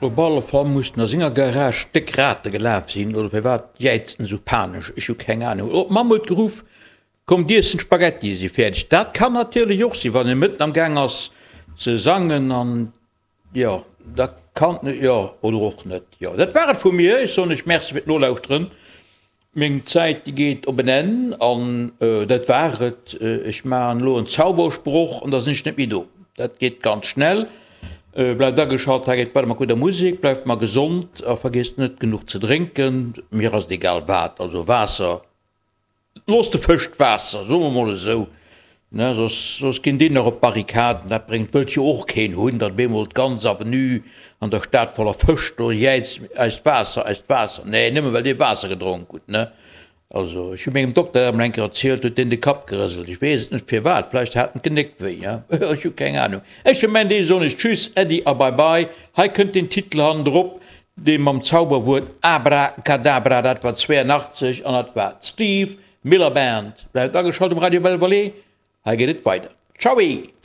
Op alle Fall mussen a senger Garage déck Rate gelaf sinn, oder firwat jäizt en esou panesch? Ech hu keng Anung. Oder d'Mamm huet geruff, Kommt iessen, d'Spaghettie si fäerdeg. Dat kann natierlech och sinn, wann e mëtten am Gaang ass ze sangen an, jo, da kann, jo, oder och net. Jo, dat war et vu mir. Ech soen iech Merci fir d'Nolauschteren. Meng Zäit déi geet op en Enn an dat war et. Ech maachen elo en Zaubersproch an da sinn ech net méi do. Dat geet ganz schnell. Bleift ageschalt, hei geet weider mat gudder Musek. Bleift mer gesond a vergiesst net genuch ze drénken. Mir ass et egal wat, also Waasser, loosst de Fësch d'Waasser, soe mer mol esou, ne, soss soss ginn déi nach op d'Barrikaden. Dat bréngt, wëllt jo och keen hunn, datt op eemol d'ganz Avenue an der Stad voller Fësch do jäizt, Eist Waasser, eist Waasser. Nee, nëmme well dir Waasser gedronk hutt, ne. Also, ech hu mengem Dokter dat emol eng Kéier erzielt, huet deen de Kapp gerëselt. Ech weess et net firwat, vläicht hat en d'Genéck wéi, ja, ech hu keng Anung. Ech fir mäin Deel soen ech Tschüss, Äddi a Bye Bye. Hei kënnt den Titel hannendrop, Dee mam Zauberwuert Abracadabra, dat war 82 an dat war d'Steve Miller Band. Bleift ageschalt um Radio Belle Vallée, hei geet et weider. Tschaui!